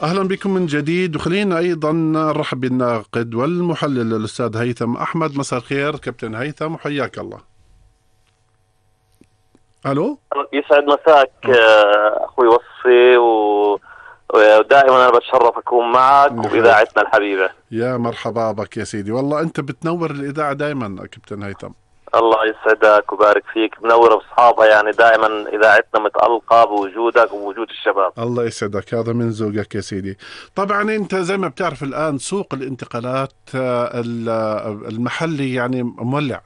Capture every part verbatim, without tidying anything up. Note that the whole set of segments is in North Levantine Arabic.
أهلا بكم من جديد، وخلينا أيضا نرحب بالناقد والمحلل الأستاذ هيثم أحمد. مساء الخير كابتن هيثم وحياك الله. ألو، يسعد مساك أخوي وصفي، ودائما أنا بتشرف أكون معك وإذاعتنا الحبيبة. يا مرحبا بك يا سيدي، والله أنت بتنور الإذاعة دائما كابتن هيثم. الله يسعدك وبارك فيك، منورة بأصحابها، يعني دائما إذاعتنا متألقة بوجودك وبوجود الشباب. الله يسعدك، هذا من ذوقك يا سيدي. طبعا أنت زي ما بتعرف الآن سوق الانتقالات المحلي يعني مولع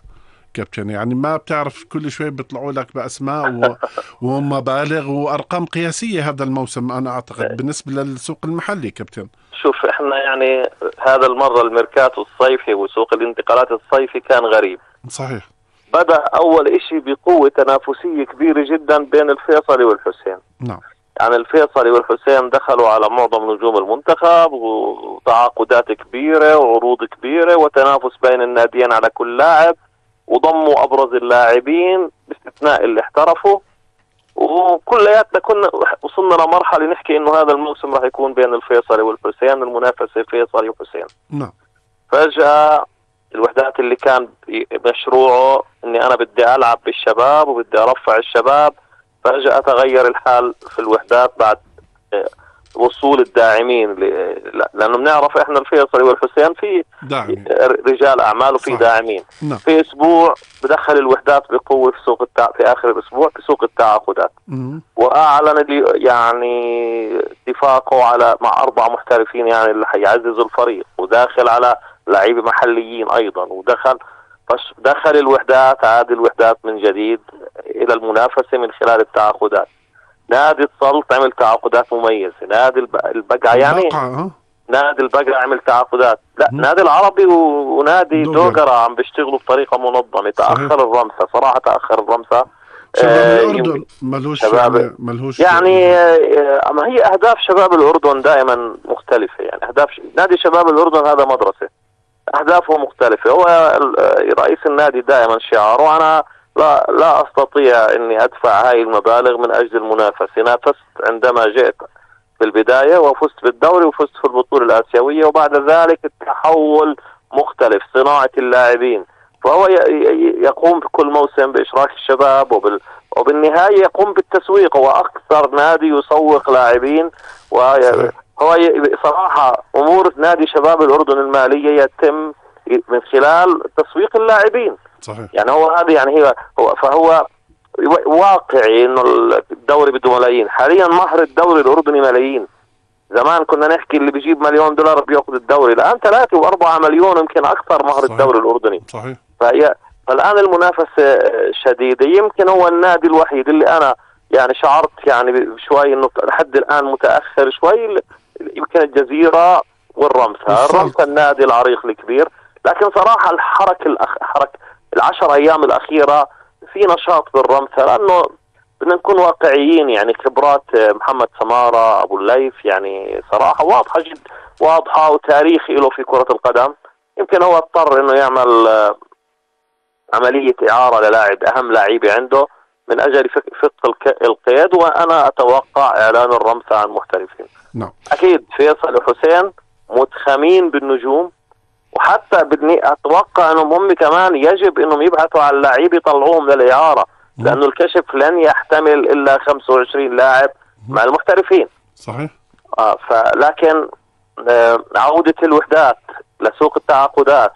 كابتن، يعني ما بتعرف كل شوي بيطلعوا لك بأسماء ومبالغ وأرقام قياسية هذا الموسم، أنا أعتقد بالنسبة للسوق المحلي كابتن. شوف إحنا يعني هذا المرة الميركاتو الصيفي وسوق الانتقالات الصيفي كان غريب. صحيح. بدأ أول إشي بقوة تنافسية كبيرة جدا بين الفيصلي والحسين. نعم. يعني الفيصلي والحسين دخلوا على معظم نجوم المنتخب وتعاقدات كبيرة وعروض كبيرة وتنافس بين الناديين على كل لاعب، وضموا أبرز اللاعبين باستثناء اللي احترفوا، وكلياتنا كنا وصلنا لمرحلة نحكي إنه هذا الموسم راح يكون بين الفيصلي والحسين، المنافسة فيصلي وحسين. نعم. فجأة الوحدات اللي كان مشروعه إني أنا بدي ألعب بالشباب وبدي أرفع الشباب، فجأة تغير الحال في الوحدات بعد وصول الداعمين، لأنه بنعرف إحنا الفيصلي والحسين في داعم. رجال أعمال وفي داعمين. نعم. في أسبوع بدخل الوحدات بقوة في سوق التع... في آخر الأسبوع في سوق التعاقدات، وأعلن يعني اتفاقه على مع أربع محترفين يعني اللي حيعززوا الفريق، وداخل على لعيبة محليين أيضا، ودخل دخل الوحدات عاد الوحدات من جديد إلى المنافسة من خلال التعاقدات. نادي السلط عمل تعاقدات مميزة، نادي البقعة يعني بقعة. نادي البقعة عمل تعاقدات، لا م. نادي العربي ونادي دوغرة عم بيشتغلوا بطريقة منظمة. تأخر الرمسة صراحة، تأخر الرمسة. شباب آه الأردن ملهوش يعني, ملهوش يعني آه ما هي أهداف شباب الأردن دائما مختلفة، يعني أهداف ش... نادي شباب الأردن هذا مدرسة، أهدافه مختلفة. هو رئيس النادي دائما شعاره أنا لا لا أستطيع أني أدفع هاي المبالغ من أجل المنافسة. نافست عندما جئت في البداية وفزت بالدوري وفزت في البطولة الآسيوية، وبعد ذلك التحول مختلف، صناعة اللاعبين. فهو يقوم بكل موسم بإشراك الشباب وبال... وبالنهاية يقوم بالتسويق. هو أكثر نادي يسوق لاعبين، وهو صراحة أمور نادي شباب الأردن المالية يتم من خلال تسويق اللاعبين. صحيح. يعني هو هذا يعني هي هو فهو واقعي انه الدوري بده ملايين. حاليا مهر الدوري الاردني ملايين. زمان كنا نحكي اللي بيجيب مليون دولار بياخذ الدوري، الان ثلاثة وأربعة مليون يمكن اكثر مهر. صحيح. الدوري الاردني. صحيح. فهي فالان المنافسه شديده. يمكن هو النادي الوحيد اللي انا يعني شعرت يعني شوي انه لحد الان متاخر شوي، يمكن الجزيره والرمسة. الرمسة النادي العريق الكبير، لكن صراحه الحركه الأخ... حركه العشر ايام الاخيره في نشاط بالرمسة، لانه بدنا نكون واقعيين. يعني خبرات محمد سمارة ابو الليث يعني صراحه واضحه جدا، واضحه وتاريخي له في كره القدم. يمكن هو اضطر انه يعمل عمليه اعاره للاعب اهم لاعيبه عنده من اجل فك القيد، وانا اتوقع اعلان الرمسة عن محترفين. نعم. اكيد فيصل وحسين متخمين بالنجوم، وحتى بدني اتوقع انهم هم كمان يجب انهم يبحثوا عن لاعبين يطلعوهم للاعاره، لانه الكشف لن يحتمل الا خمسة وعشرين لاعب مع المحترفين. صحيح. آه فلكن آه عوده الوحدات لسوق التعاقدات